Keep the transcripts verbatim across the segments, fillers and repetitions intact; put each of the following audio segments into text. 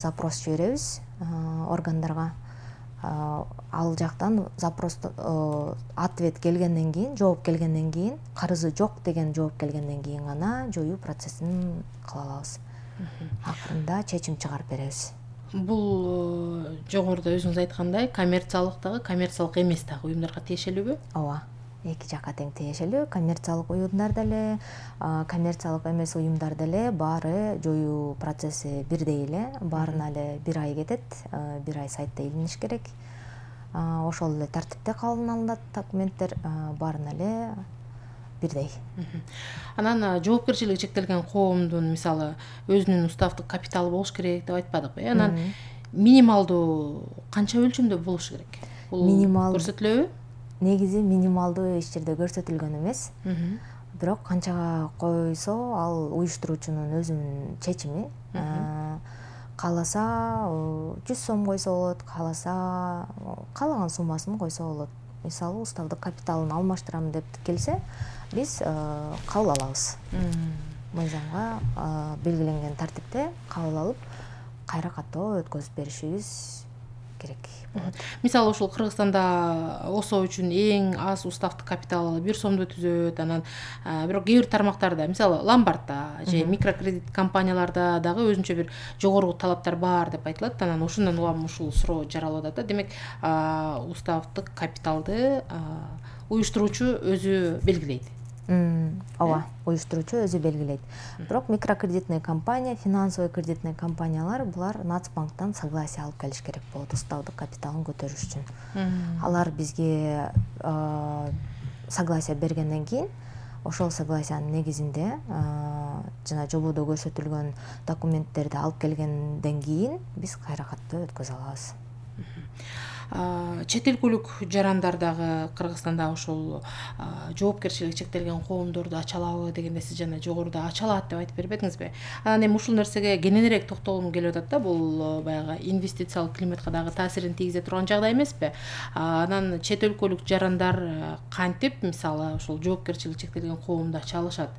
запрос жиберебиз органдарга. Ал жактан запросту ответ келгенден кийин, жооп келгенден кийин, карызы жок деген жооп келгенден кийин гана жоюу процессин кыла алабыз. Акырында чечим чыгарып беребиз. Бул жогоруда өзүңүз айткандай коммерциялык дагы, коммерциялык эмес дагы уюмдарга тиешелүүбү? Ооба. Эки жакка тең тиешелүү. Коммерциялык уюмдар деле, коммерциялык эмес уюмдар деле баары жоюу процесси бирдей эле. Баарына эле бир ай кетет, бир ай сайтта илиниш керек. Ошол эле тартипте кабыл алынат документтер, баарына эле бирдей. Анан жоопкерчилиги чектелген коомдун мисалы өзүнүн уставдык капиталы болуш керек деп айтпадыкпы? Анан минималдуу канча өлчөмдө болуш керек? Бул көрсөтүлөбү? Негизи минималдуу эч жерде көрсөтүлгөн эмес. Бирок канчага койсо ал уюштуруучунун өзүнүн чечими. Кааласа жүз сом койсо болот, кааласа каалаган суммасын койсо болот. Мисалы уставдык капиталын алмаштырам деп келсе, биз кабыл алабыз. Мыйзамга белгиленген тартипте кабыл алып, кайра каттоо өткөзүп беришибиз керек. Мисалы ушул Кыргызстанда ОСО үчүн эң аз уставдык капиталы бир сомду түзөт. Анан бирок кээ бир тармактарда, мисалы ломбардда же микрокредит компанияларда дагы өзүнчө бир жогорку талаптар бар деп айтылат. Анан ошондон улам ушул суроо жаралып атат да. Демек, уставдык капиталды уюштуруучу өзү белгилейт. Ооба, уюштуруучу өзү белгилейт. Бирок микрокредитный компания, финансовый кредитный компаниялар булар Нацбанктан согласие алып келиш керек болот уставдык капиталын көтөрүш үчүн. Алар бизге согласие бергенден кийин, ошол согласиянын негизинде жана жободо көрсөтүлгөн документтерди алып келгенден кийин биз кайра каттоо өткөзө алабыз. Чет өлкөлүк жарандар дагы Кыргызстанда ошол жоопкерчилиги чектелген коомдорду ача алабы дегенде сиз жана жогоруда ача алат деп айтып бербедиңизби? Анан эми ушул нерсеге кененирээк токтолгум келип атат да. Бул баягы инвестициялык климатка дагы таасирин тийгизе турган жагдай эмеспи? Анан чет өлкөлүк жарандар кантип мисалы ошол жоопкерчилиги чектелген коомду ача алышат?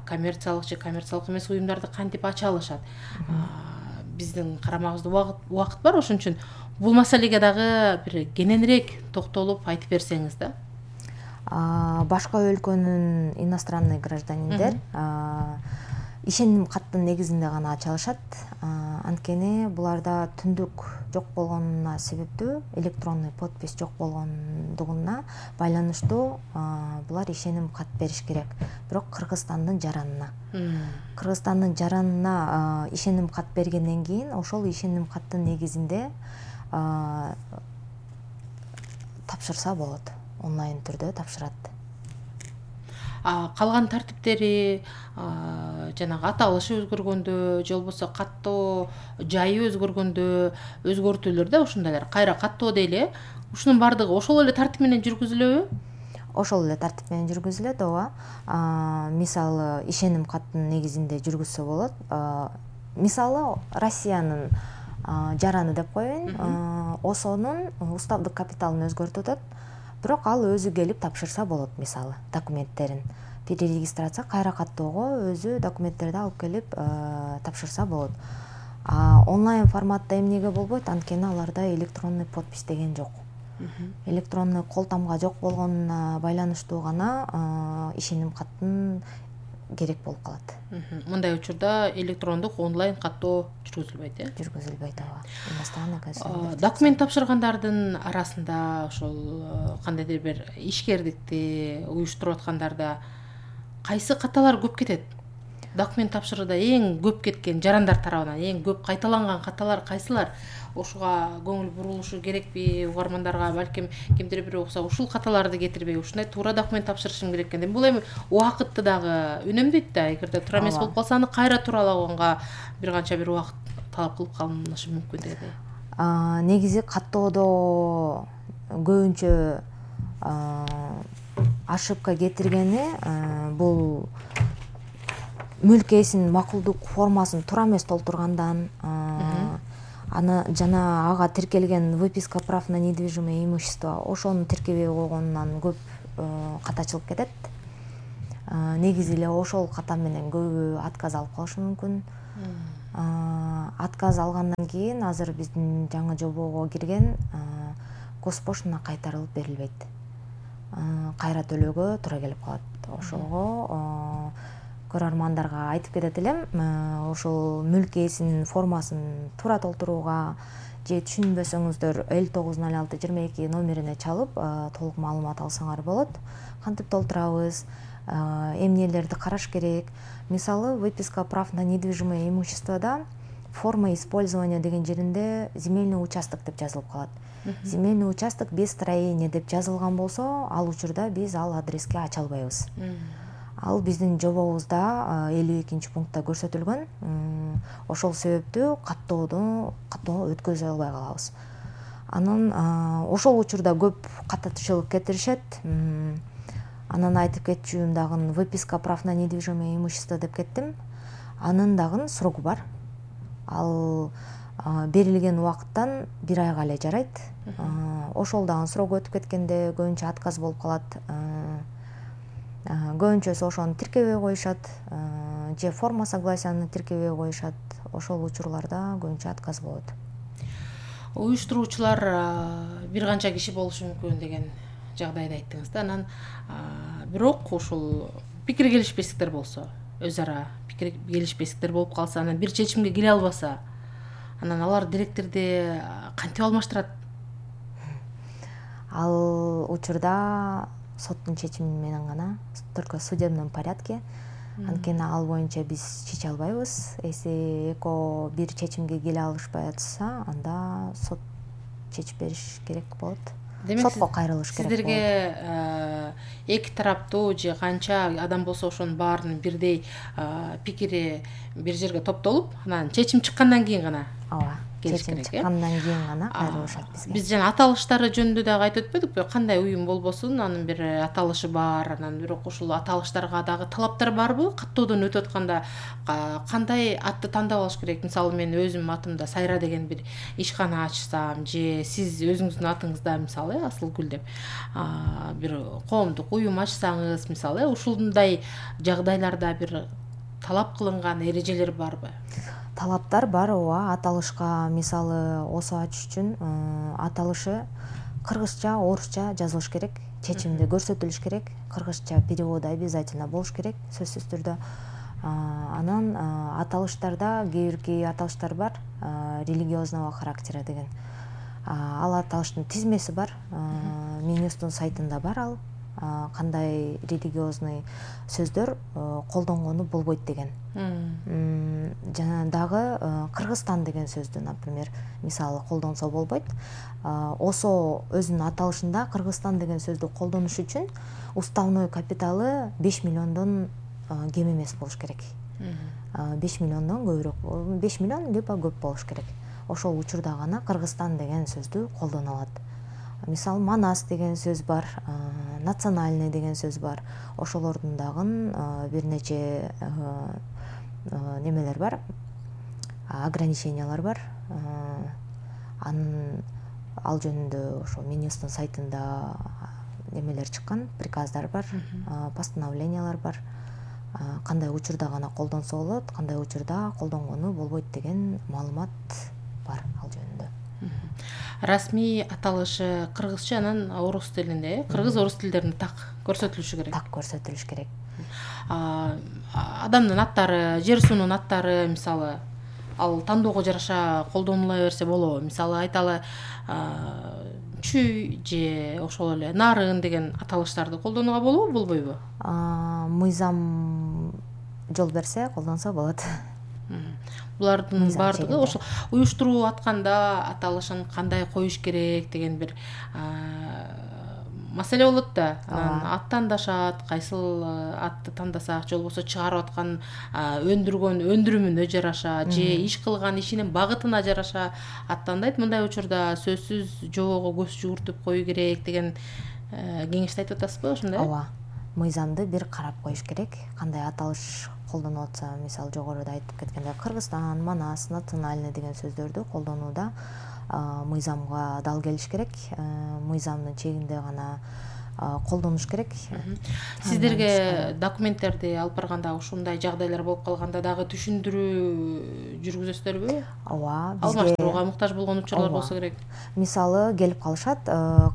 Коммерциялык же коммерциялык эмес уюмдарды кантип ача алышат? Биздин карамагыбызда убакыт бар, ошон үчүн бул маселеге дагы бир кененирээк токтолуп айтып берсеңиз да. Башка өлкөнүн иностранный гражданиндер ишеним каттын негизинде гана ача алышат. Анткени буларда түндүк жок болгонуна себептүү, электронный подпись жок болгондугуна байланыштуу булар ишеним кат бериш керек. Бирок Кыргызстандын жаранына. Кыргызстандын жаранына ишеним кат бергенден кийин, ошол ишеним каттын негизинде тапшырса болот. Онлайн түрдө тапшырат. Калган тартиптери жанагы аталышы өзгөргөндө же болбосо каттоо жайы өзгөргөндө өзгөртүүлөр да ушундайлар кайра каттоо дейли. Ушунун бардыгы ошол эле тартип менен жүргүзүлөбү? Ошол эле тартип менен жүргүзүлөт, ооба. Мисалы ишеним каттын негизинде жүргүзсө болот. Мисалы Россиянын жараны деп коеюн, ОСОнун уставдык капиталын өзгөртүп атат. Бирок ал өзү келип тапшырса болот, мисалы, документтерин. Перерегистрация кайра каттоого өзү документтерди алып келип тапшырса болот. Онлайн форматта эмнеге болбойт? Анткени аларда электронный подпись деген жок. Электронный кол тамга жок болгонуна байланыштуу гана ишеним каттын керек болуп калат. Мындай учурда электрондук онлайн каттоо жүргүзүлбөйт, э? Жүргүзүлбөйт, ооба. Иностранный Документ тапшыргандардын арасында ошол кандайдыр бир ишкердикти уюштуруп аткандарда кайсы каталар көп кетет? Документ тапшырууда эң көп кеткен жарандар тарабынан эң көп кайталанган каталар кайсылар? Ошуга көңүл бурулушу керекпи? Угармандарга балким кимдир бирөө окса ушул каталарды кетирбей, ушундай туура документ тапшырышым керек экен. Бул эми убакытты дагы үнөмдөйт да. Эгерде туура эмес болуп калса, аны кайра тууралаганга бир канча бир убакыт талап кылып калынышы мүмкүн дегендей. Негизи каттоодо көбүнчө ошибка кетиргени бул мүлк ээсинин макулдук формасын туура эмес толтургандан, аны жана ага тиркелген выписка прав на недвижимое имущество ошону тиркебей койгонунан көп катачылык кетет. Негизи эле ошол ката менен көбү отказ алып калышы мүмкүн. отказ алгандан кийин азыр биздин жаңы жобого кирген госпошлина кайтарылып берилбейт. Кайра төлөөгө туура келип калат. Ошого көрөрмандарга айтып кетет элем, ошол мүлк ээсинин формасын туура толтурууга же түшүнбөсөңүздөр элүү тогуз ноль алты жыйырма эки номерине чалып толук маалымат алсаңар болот. Кантип толтурабыз, эмнелерди караш керек. Мисалы, выписка прав на недвижимое имуществода форма использования деген жеринде земельный участок деп жазылып калат. Земельный участок без строения деп жазылган болсо, ал учурда биз ал адреске ача албайбыз. Ал биздин жобобузда элүү экинчи пунктта көрсөтүлгөн. Ошол себептүү каттоодо каттоо өткөзө албай калабыз. Анан ошол учурда көп каттатуучулук кетиришет. Анан айтып кетчүмүн дагы выписка прав на недвижимое имущество деп кеттим. Анын дагы срогу бар. Ал берилген убакыттан бир айга эле жарайт. Ошол дагы срогу өтүп кеткенде көбүнчө отказ болуп калат. Көбүнчөсү ошону тиркебей коюшат, же форма согласияны тиркебей коюшат. Ошол учурларда көбүнчө отказ болот. Уюштуруучулар бир канча киши болушу мүмкүн деген жагдайды айттыңыз да. Анан бирок ушул пикир келишпестиктер болсо, өз ара пикир келишпестиктер болуп калса, анан бир чечимге келе албаса, анан алар директорду кантип алмаштырат? Ал учурда соттун чечими менен гана, только в судебном порядке. Анткени ал боюнча биз чече албайбыз. Эси эко бир чечимге келе алышпай атса, анда сот чечип бериш керек болот. Сотко кайрылыш керек болот. Сиздерге эки тараптуу же канча адам болсо ошонун баарынын бирдей пикири бир жерге топтолуп, анан чечим чыккандан кийин гана ооба, чечим чыккандан кийин гана кайрылышат бизге. Биз жана аталыштары жөнүндө дагы айтып өтпөдүкпү? Кандай уюм болбосун, анын бир аталышы бар, анан бирок ушул аталыштарга дагы талаптар барбы? Каттоодон өтүп атканда кандай атты тандап алыш керек? Мисалы, мен өзүм атымда Сайра деген бир ишкана ачсам, же сиз өзүңүздүн атыңызда мисалы Асылгүл деп бир коомдук уюм ачсаңыз, мисалы, ушундай жагдайларда бир талап кылынган эрежелер барбы? Талаптар бар, ооба. Аталышка мисалы осо ачыш үчүн аталышы кыргызча, орусча жазылыш керек, чечимде көрсөтүлүш керек, кыргызча переводу обязательно болуш керек, сөзсүз түрдө. Анан аталыштарда кээ бирки аталыштар бар, религиозного характера деген. Ал аталыштын тизмеси бар, Минюстун сайтында бар ал. Кандай религиозный сөздөр колдонгону болбойт деген. Жана дагы Кыргызстан деген сөздү, например, мисалы колдонсо болбойт. Осо өзүнүн аталышында Кыргызстан деген сөздү колдонуш үчүн уставной капиталы беш миллиондон кем эмес болуш керек. беш миллиондон көбүрөөк, беш миллион либо көп болуш керек. Ошол учурда гана Кыргызстан деген сөздү колдоно алат. Мисалы, Манас деген сөз бар, национальный деген сөз бар. Ошолордун дагы бир нече немелер бар, ограничениялар бар. Анын ал жөнүндө ошо Минюстун сайтында немелер чыккан, приказдар бар, постановлениялар бар. Кандай учурда гана колдонсо болот, кандай учурда колдонгону болбойт деген маалымат бар ал жөнүндө. Расмий аталышы кыргызча, анан орус тилинде, кыргыз орус тилдеринде так көрсөтүлүшү керек. Так көрсөтүлүш керек. Адамдын аттары, жер суунун аттары, мисалы, ал тандоого жараша колдонула берсе болобу? Мисалы, айталы, чүй же ошол эле нарын деген аталыштарды колдонууга болобу, болбойбу? Мыйзам жол берсе, колдонсо болот. Булардын баардыгы ошол уюштуруу атканда аталышын кандай коюш керек деген бир маселе болот да. Анан ат тандашат, кайсыл атты тандасак, же болбосо чыгарып аткан өндүргөн өндүрүмүнө жараша, же иш кылган ишинин багытына жараша ат тандайт. Мындай учурда сөзсүз жобого көз жүгүртүп кою керек деген кеңешти айтып атасызбы, ошондой? Ооба. Мыйзамды бир карап коюш керек. Кандай аталыш колдонуп атса, мисалы жогоруда айтып кеткендей, Кыргызстан, Манас, национальный деген сөздөрдү колдонууда мыйзамга дал келиш керек. Мыйзамдын чегинде гана колдонуш керек. Сиздерге документтерди алып барганда ушундай жагдайлар болуп калганда дагы түшүндүрүү жүргүзөсүздарбы? Ооба, бизге алмаштырууга муктаж болгон учурлар болсо керек. Мисалы келип калышат,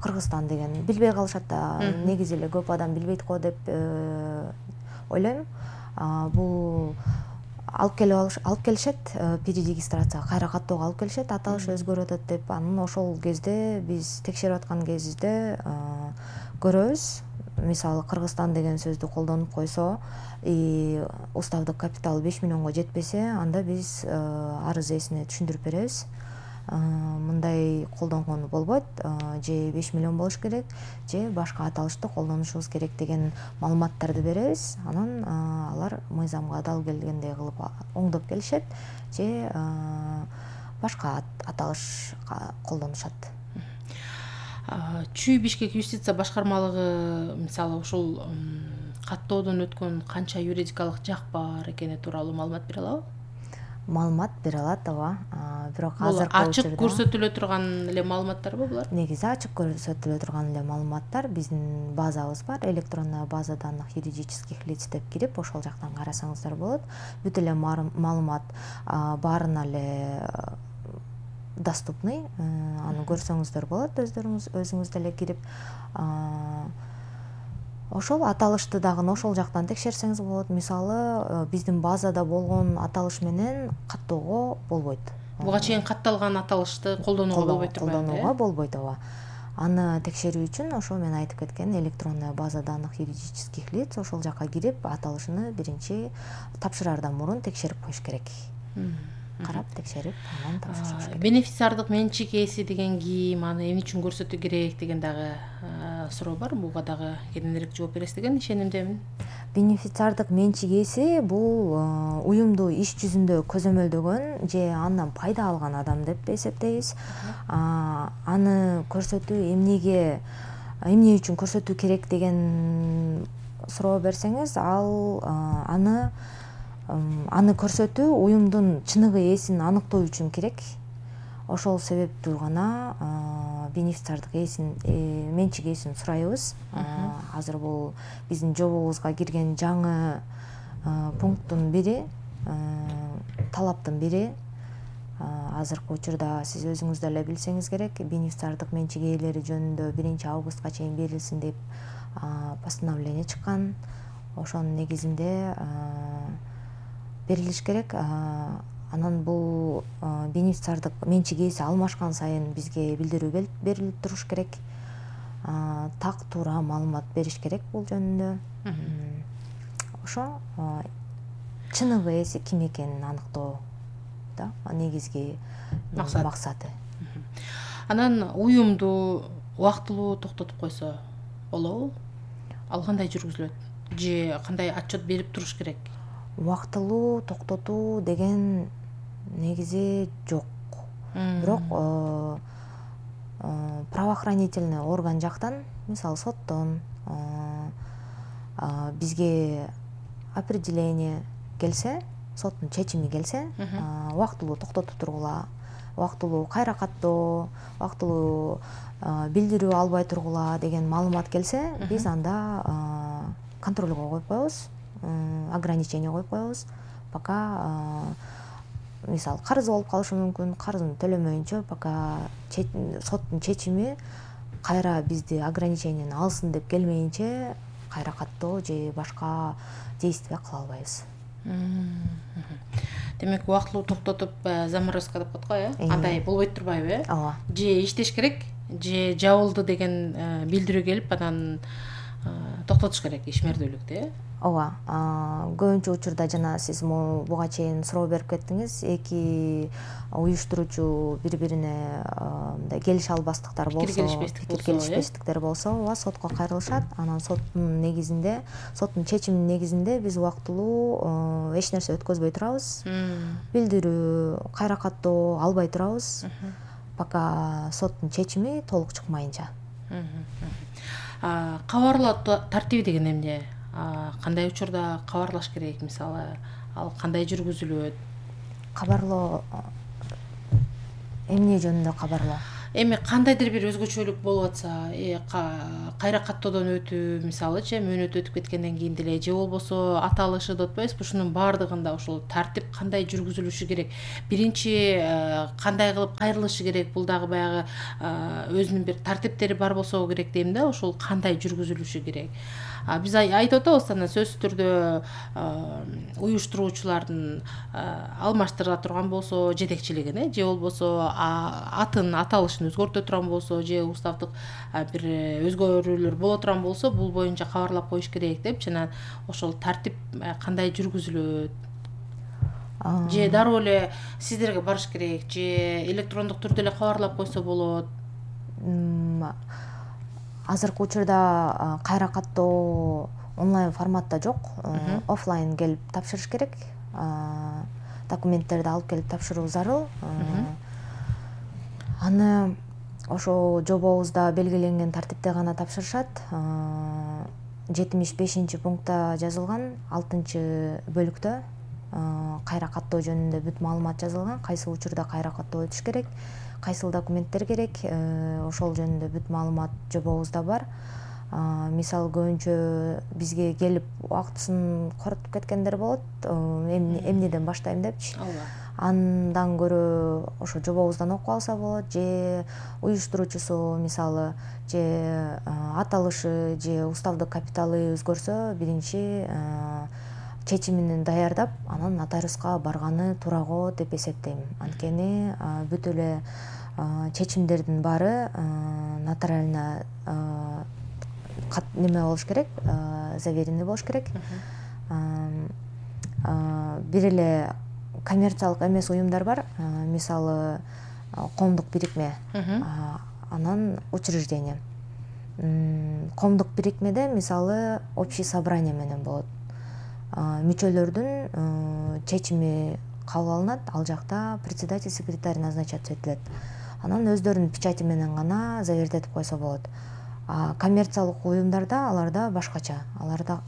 Кыргызстан деген билбей калышат да, негизи эле көп адам билбейт го деп ойлойм. Бул алып келип алыш алып келишет, перерегистрацияга кайра каттоого алып келишет, аталыш өзгөрүп атат деп. Анан ошол кезде биз текшерип аткан кезде көрөбүз. Мисалы Кыргызстан деген сөздү колдонуп койсо, уставдык капиталы беш миллионго жетпесе, анда биз арыз ээсине түшүндүрүп беребиз. Мындай колдонгон болбойт, же беш миллион болуш керек, же башка аталышты колдонушубуз керек деген маалыматтарды беребиз. Анан алар мыйзамга дал келгендей кылып оңдоп келишет, же башка аталыш колдонушат. Чүй Бишкек юстиция башкармалыгы мисалы ушул каттоодон өткөн канча юридикалык жак бар экени тууралуу маалымат бере алабы? Маалымат бере алат, ооба. Бирок азыр ачык көрсөтүлө турган эле маалыматтарбы булар? Негизи ачык көрсөтүлө турган эле маалыматтар. Биздин базабыз бар, электронная база данных юридических лиц деп кирип, ошол жактан карасаңыздар болот. Бүт эле маалымат баарына эле доступный, аны көрсөңүздөр болот, өздөрүңүз өзүңүз деле кирип. Ошол аталышты дагы ошол жактан текшерсеңиз болот. Мисалы, биздин базада болгон аталыш менен каттоого болбойт. Буга чейин катталган аталышты колдонууга болбойт турбайбы? Колдонууга болбойт, ооба. Аны текшерүү үчүн ошо мен айтып кеткен электронная база данных юридических лиц, ошол жакка кирип, аталышыны биринчи тапшыраардан мурун текшерип коюш керек. Карап, текшерип, анан тапшырыш керек. Бенефициардык менчик ээси деген ким, аны эмне үчүн көрсөтүү керек деген дагы суроо бар. Буга дагы кененирээк жооп бересиз деген ишенимдемин. Бенефициардык менчик ээси бул уюмду иш жүзүндө көзөмөлдөгөн же андан пайда алган адам деп эсептейбиз. Аны көрсөтүү эмнеге, эмне үчүн көрсөтүү керек деген суроо берсеңиз, ал аны аны көрсөтүү уюмдун чыныгы ээсин аныктоо үчүн керек. Ошол себептүү гана бенефициардык ээсин, менчик ээсин сурайбыз. Азыр бул биздин жобобузга кирген жаңы пункттун бири, талаптын бири. Азыркы учурда сиз өзүңүз деле билсеңиз керек, бенефициардык менчик ээлери жөнүндө биринчи августка чейин берилсин деп постановление чыккан. Ошонун негизинде берилиш керек. Анан бул бенефициардык менчик ээси алмашкан сайын бизге билдирүү берилип туруш керек. Так туура маалымат бериш керек бул жөнүндө. Ошо чыныгы ээси ким экенин аныктоо да негизги максаты. Анан уюмду убактылуу токтотуп койсо болобу? Ал кандай жүргүзүлөт? Же кандай отчет берип туруш керек? Убактылуу токтотуу деген негизи жок. Бирок правоохранительный орган жактан, мисалы соттон бизге определение келсе, соттун чечими келсе, убактылуу токтотуп тургула, убактылуу кайра каттоо, убактылуу билдирүү албай тургула деген маалымат келсе, биз анда контролго коюп коебуз, ограничение коюп коебуз. Пока мисалы карыз болуп калышы мүмкүн, карызын төлөмөйүнчө пока соттун чечими кайра бизди ограничениени алсын деп келмейинче кайра каттоо же башка действия кыла албайбыз. Демек убактылуу токтотуп заморозка деп коет го, э? Андай болбойт турбайбы, э? Ооба. Же иштеш керек, же жабылды деген билдирүү келип, анан токтотуш керек ишмердүүлүктү, э? Ооба. Көбүнчө учурда жана сиз буга чейин суроо берип кеттиңиз, эки уюштуруучу бири-бирине мындай келише албастыктар болсо, пикир келишпестиктер болсо, ооба, сотко кайрылышат. Анан соттун негизинде, соттун чечиминин негизинде биз убактылуу эч нерсе өткөзбөй турабыз. Билдирүү, кайра каттоо албай турабыз. Пока соттун чечими толук чыкмайынча. Кабарлоо тартиби деген эмне? Кандай учурда кабарлаш керек, мисалы, ал кандай жүргүзүлөт? Кабарлоо эмне жөнүндө кабарлоо? Эми кандайдыр бир өзгөчөлүк болуп атса, кайра каттоодон өтүү мисалычы мөөнөт өтүп кеткенден кийин деле же болбосо аталышы деп атпайбызбы, ушунун баардыгында ошол тартип кандай жүргүзүлүшү керек, биринчи кандай кылып кайрылышы керек, бул дагы баягы өзүнүн бир тартиптери бар болсо керек дейм да, ошол кандай жүргүзүлүшү керек. Биз айтып атабыз анан сөзсүз түрдө уюштуруучулардын алмаштыра турган болсо жетекчилигин, э же болбосо атын аталышын өзгөртө турган болсо, же уставдык бир өзгөрүүлөр боло турган болсо, бул боюнча кабарлап коюш керек деп, жана ошол тартип кандай жүргүзүлөт, же дароо эле сиздерге барыш керек, же электрондук түрдө эле кабарлап койсо болот. Азыркы учурда кайра каттоо онлайн форматта жок, офлайн келип тапшырыш керек, документтерди алып келип тапшыруу зарыл. Аны ошо жобобузда белгиленген тартипте гана тапшырышат. жетимиш бешинчи пунктта жазылган алтынчы бөлүктө кайра каттоо жөнүндө бүт маалымат жазылган, кайсы учурда кайра каттоо өтүш керек, кайсыл документтер керек, ошол жөнүндө бүт маалымат жобобузда бар. Мисалы көбүнчө бизге келип убактысын коротуп кеткендер болот, эмнеден баштайм депчи. Андан көрө ошо жобобуздан окуп алса болот, же уюштуруучусу мисалы же аталышы же уставдык капиталы өзгөрсө, биринчи чечимин даярдап, анан нотариуска барганы туура го деп эсептейм. Анткени бүт эле чечимдердин баары нотариально неме болуш керек, заверенный болуш керек. Бир эле коммерциялык эмес уюмдар бар, мисалы коомдук бирикме, анан учреждение. Коомдук бирикмеде мисалы общий собрание менен болот. Мүчөлөрдүн чечими кабыл алынат, ал жакта председатель, секретарь назначаться этилет. Анан өздөрүнүн печати менен гана завердетип койсо болот. Коммерциялык уюмдарда аларда башкача. Аларда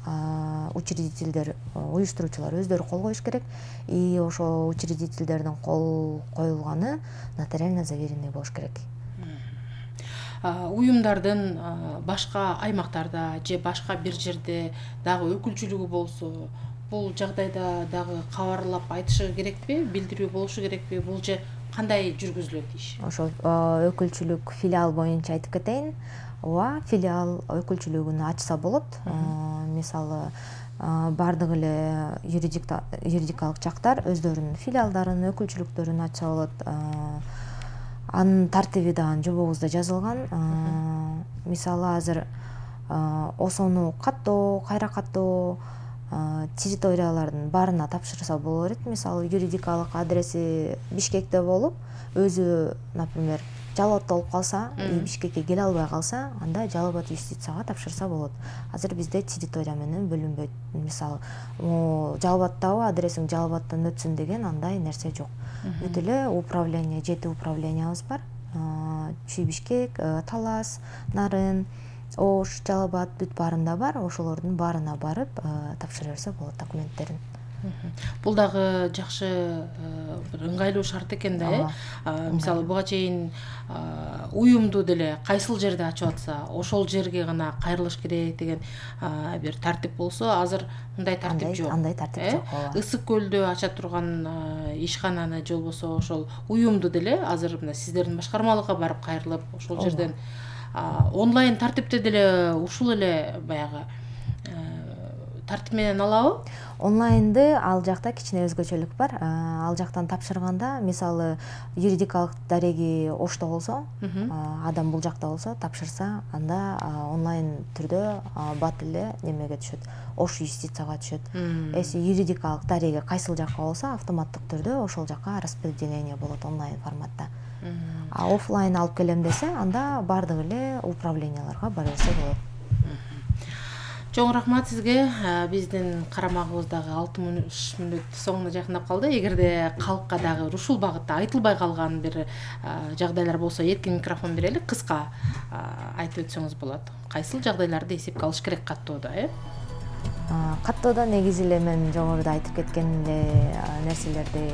учредительдер, уюштуруучулар өздөрү кол коюш керек, и ошо учредительдердин кол коюлганы нотариально заверенный болуш керек. Уюмдардын башка аймактарда же башка бир жерде дагы өкүлчүлүгү болсо, бул жагдайда дагы кабарлап айтышы керекпи, билдирүү болушу керекпи, бул же кандай жүргүзүлөт иш? Ошол өкүлчүлүк филиал боюнча айтып кетейин. Ооба, филиал өкүлчүлүгүн ачса болот. Мисалы бардык эле юридикалык жактар өздөрүнүн филиалдарын, өкүлчүлүктөрүн ачса болот. Анын тартиби да жобобузда жазылган. Мисалы азыр осону каттоо, кайра каттоо территориялардын баарына тапшырса боло берет. Мисалы юридикалык адреси Бишкекте болуп, өзү, например, Жалал абадта болуп калса, Бишкекке келе албай калса, анда Жалал абад юстицияга тапшырса болот. Азыр бизде территория менен бөлүнбөйт. Мисалы, Жалал абадтабы адресиң Жалал абадтан өтсүн деген андай нерсе жок. Бүт эле управление, жети управлениябыз бар. Чүй Бишкек, Талас, Нарын, Ош, Жалал абад бүт баарында бар. Ошолордун баарына барып тапшыра берсе болот документтерин. Бул дагы жакшы бир ыңгайлуу шарт экен да, э. Мисалы буга чейин уюмду деле кайсыл жерде ачып атса, ошол жерге гана кайрылыш керек деген бир тартип болсо, азыр мындай тартип жок. Андай тартип жок. Ысык көлдө ача турган ишкананы же болбосо ошол уюмду деле азыр мына сиздердин башкармалыкка барып кайрылып, ошол жерден онлайн тартипте деле ушул эле баягы тартип менен алабы? Онлайнды ал жакта кичине өзгөчөлүк бар. Ал жактан тапшырганда, мисалы юридикалык дареги Ошто болсо, адам бул жакта болсо тапшырса, анда онлайн түрдө бат эле немеге түшөт, Ош юстицияга түшөт. Эси юридикалык дареги кайсыл жакка болсо, автоматтык түрдө ошол жакка распределение болот онлайн форматта. А офлайн алып келем десе, анда бардык эле управленияларга бара берсе болот. Чоң рахмат сизге. Биздин карамагыбыз дагы алтымыш мүнөт соңуна жакындап калды. Эгерде калкка дагы ушул багытта айтылбай калган бир жагдайлар болсо, эркин микрофон берели, кыска айтып өтсөңүз болот. Кайсыл жагдайларды эсепке алыш керек каттоодо, э? Каттоодо негизи эле мен жогоруда айтып кеткендей нерселерди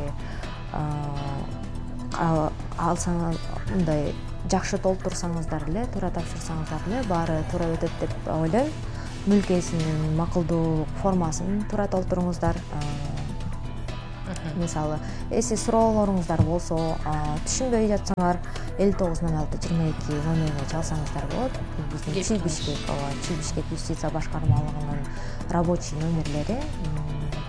алсаңыз, мындай жакшы толтурсаңыздар эле, туура тапшырсаңыздар эле баары туура өтөт деп ойлойм. Мүлкесинин макулдуу формасын туура толтуруңуздар. Мисалы, эси суроолоруңуздар болсо, түшүнбөй жатсаңар элүү тогуз ноль алты жыйырма эки номерине чалсаңыздар болот. Биздин Чүй Бишкек, ооба, Чүй Бишкек юстиция башкармалыгынын рабочий номерлери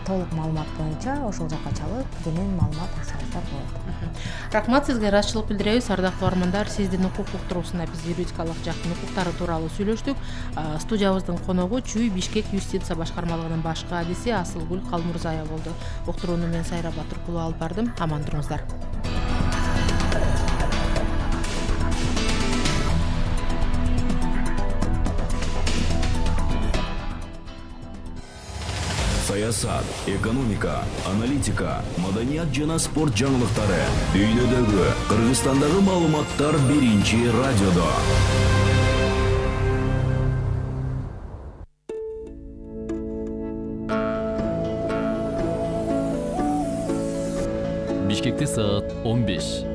толук маалымат боюнча ошол жака чалып, кенен маалымат алсаңыздар болот. Рахмат сизге, ыраазычылык билдиребиз. Ардактуу угармандар, сиздин укук уктуруусунда биз юридикалык жактын укуктары тууралуу сүйлөштүк. Студиябыздын коногу Чүй Бишкек юстиция башкармалыгынын баш каадиси Асылгүл Калмурзаева болду. Уктурууну мен Сайра Батыркулу алып бардым. Аман туруңуздар. Саясат, экономика, аналитика, маданият жана спорт жаңылыктары. Дүйнөдөгү, Кыргызстандагы маалыматтар биринчи радиодо. Бишкекте саат он беш.